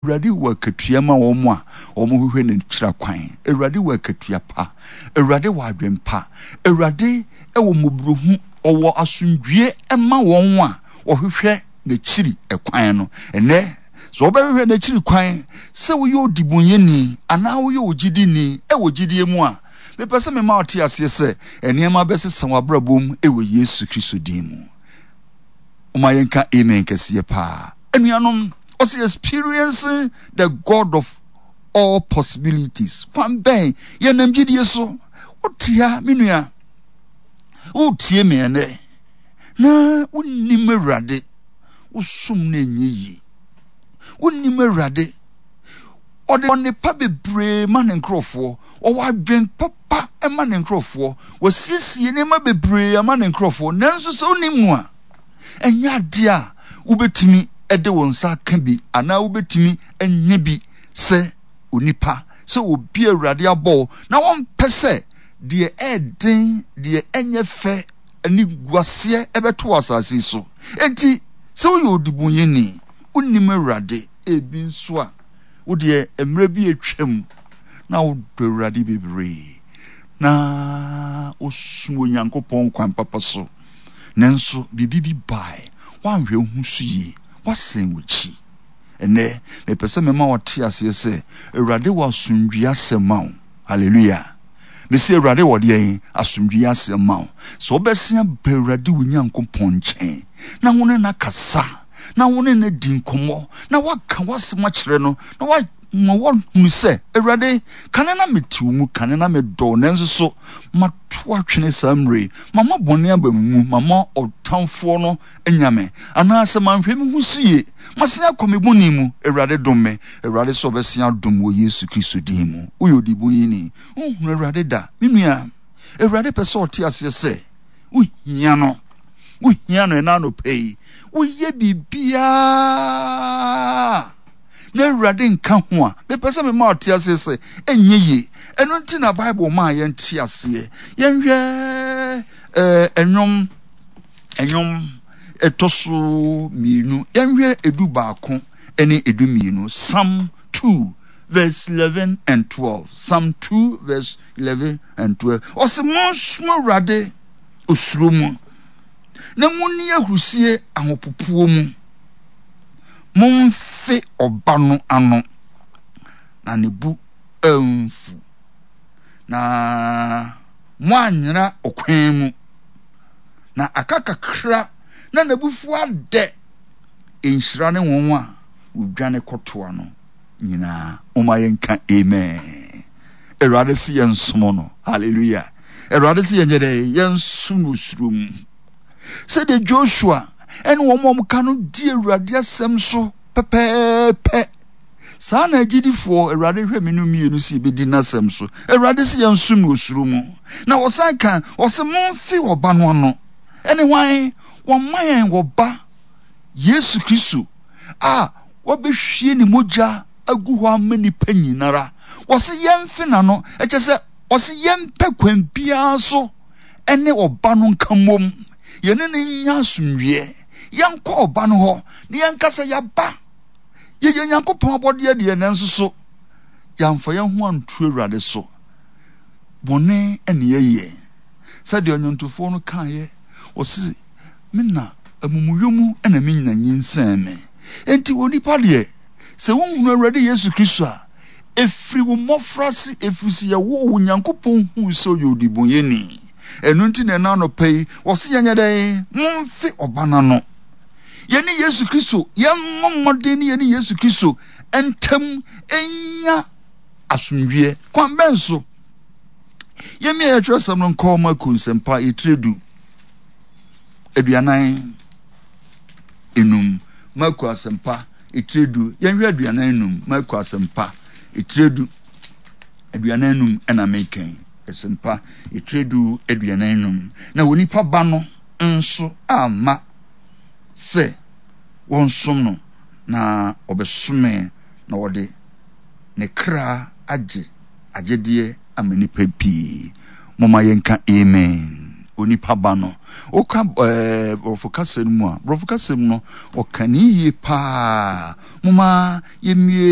Awurade wɔ akatua ma wɔn a wɔhwehwɛ n'akyira kwan. Awurade wɔ akatua pa. Awurade wɔ adwen pa. Awurade wɔ mmɔborɔhu. Ɔwɔ asomdwie ma wɔn a wɔhwehwɛ n'akyiri kwan no. Ɛnnɛ, sɛ wobɛhwehwɛ n'akyiri kwan sɛ woyɛ odibonyɛni anaa woyɛ ogyidini wɔ gyidie mu a, mepɛ sɛ mema wote aseɛ sɛ nneɛma bɛsesa w'abrabɔ mu wɔ Yesu Kristo din mu. Momma yɛnka amen kɛseɛ paa. Anuanom, ɔsɛ experiencing the God of all possibilities. Kwan bɛn yɛnam gyidie so. Wote ha, me nua, wotie me ɛnɛ, na wonnim Awurade, wosom no ɛnyɛ yie. Wonnim Awurade, ɔde ɔnepa bebree ma ne nkurɔfoɔ, ɔwɔ adwen papa ma ne nkurɔfoɔ, wasiesie nneɛma bebree ama ne nkurɔfoɔ, nanso sɛ wonim no a, ɛnyɛ adeɛ a wobɛtumi de wo nsa aka bi anaa wobɛtumi anya bi sɛ onipa, sɛ obi a Awurade abɔ wo na wɔmpɛ sɛ deɛ ɛɛden, deɛ ɛnyɛ fɛ, animguaseɛ ɛbɛto wɔ asase yi so. Enti sɛ woyɛ odibonyɛni, wonim Awurade, ebi nso a wo deɛ mmerɛ bi atwam na wodɔ Awurade bebree na wosom Onyankopɔn kwan papa so. Nanso biribi bi bae. Woanhwɛ wo ho so yie. Woasan w'akyi. Ɛnnɛ, mepɛ sɛ mema wote aseɛ sɛ Awurade wɔ asomdwoeɛ asɛm ma wo. Hallelujah. Mese Awurade wɔ deɛn? Asomdwoeɛ asɛm ma wo. Sɛ wobɛsen aba Awurade wo Nyankopɔn nkyɛn na wo ne no akasa, na wo ne no adi nkɔmmɔ, na woaka w'asɛm akyerɛ no, na ma wɔahunu sɛ, Awurade, kane na mete wo mu, kane na medɔ wo, nanso so mato atwene saa mmerɛ yi? Mama bɔne aba me mu, mama ɔtamfoɔ no anya me, anaasɛ manhwɛ me ho so yie, masan akɔ me bɔne mu. Awurade dom me. Awurade sɛ ɔbɛsan adom wɔ Yesu Kristo din mu. Woyɛ ɔdebɔneyɛni, wonhunu Awurade da. Me nua, Awurade pɛ sɛ ɔte aseɛ sɛ wohia no. Wohia no ɛna anɔpa yi. Woyɛ biribiara na Awurade nka ho a, mepɛ sɛ mema ɔte aseɛ sɛ ɛnyɛ yie. Ɛno nti na Bible maa yɛnte aseɛ. Yɛnhwɛ ɛɛ ɛnwom ɛnwom ɛtɔ so mmienu. Yɛnhwɛ 11 ɛne 12. Psalm 2 verse 11 and 12. Psalm 2 verse 11 and 12. Ɔsɛ monsom Awurade osuro mu na monni ahurusie ahopopoɔ mu. Momfe ɔba no ano, na ne bo amfu, na moanyera ɔkwan mu, na aka kakra na n'abufuo adɛ. Nhyira ne wɔn a wɔdwane kɔtoa no nyinaa. Momma yɛnka amen. Awurade se yɛnsom no. Hallelujah. Awurade se yɛnyɛ dɛ yɛnsom no osuro mu. Sɛdeɛ Joshua ne wɔn a wɔka no di Awurade asɛm so pɛpɛɛpɛ. Saa na agyidifoɔ, Awurade hwɛ me no mmienu sɛ yɛbɛdi n'asɛm so. Awurade sɛ yɛnsom no osuro mu. Na wɔsan ka, ɔsɛ momfe ɔba no ano. Ɛne hwan? Wɔma yɛn ɔba, Yesu Kristo, a wabɛhwie ne mogya agu hɔ ama nnipa nyinara. Wɔse yɛmfe n'ano, ɛkyɛ sɛ ɔse yɛmpɛ kwan biara so ne ɔba no nka mmom, yɛne no nnya asomdwoeɛ. Yɛnkɔ ɔba no hɔ na yɛnka sɛ yɛaba. Yɛyɛ Nyankopɔn abɔdeɛ deɛ, nanso so yɛamfa yɛn ho anto Awurade so. Bɔne ne yɛyɛ. Sɛdeɛ ɔnwontofoɔ no kaeɛ, ɔse, me na amumuyɔ mu na me nyina nyinsɛn me. Enti onipa deɛ, sɛ wonhunu Awurade Yesu Kristo a, Ɛfiri wo mmɔfraase, ɛfiri sɛ yɛwoo wo, Nyankopɔn huu sɛ ɔyɛ odibɔnyɛni. Ɛno nti na ɛna anɔpa yi, wɔse yɛnyɛ dɛn? Momfe ɔba no ano. Yɛne Yesu Kristo, yɛmmɔ mmɔden ne yɛne Yesu Kristo ntam nya asomdwoeɛ. Kwan bɛn so? Yɛmmia yɛtwerɛsɛm no nkɔ Marko nsɛmpa yɛtire 10 45. Marko asɛmpa etire du. Yɛnhwɛ 45, Marko Asɛmpa, etire 10 45 ɛna meka yi. Asɛmpa, etire 10 45. Na onipa ba no nso amma sɛ wɔnsom no, na ɔbɛsomee, na ɔde ne kra agye agyedeɛ ama nnipa pii. Momma yɛnka amen. onipa ba no. Woka ɛɛ borɔfo kasa no mu a, borɔfo kasa mu no, ɔka ne yie paa. Momma yɛmmie.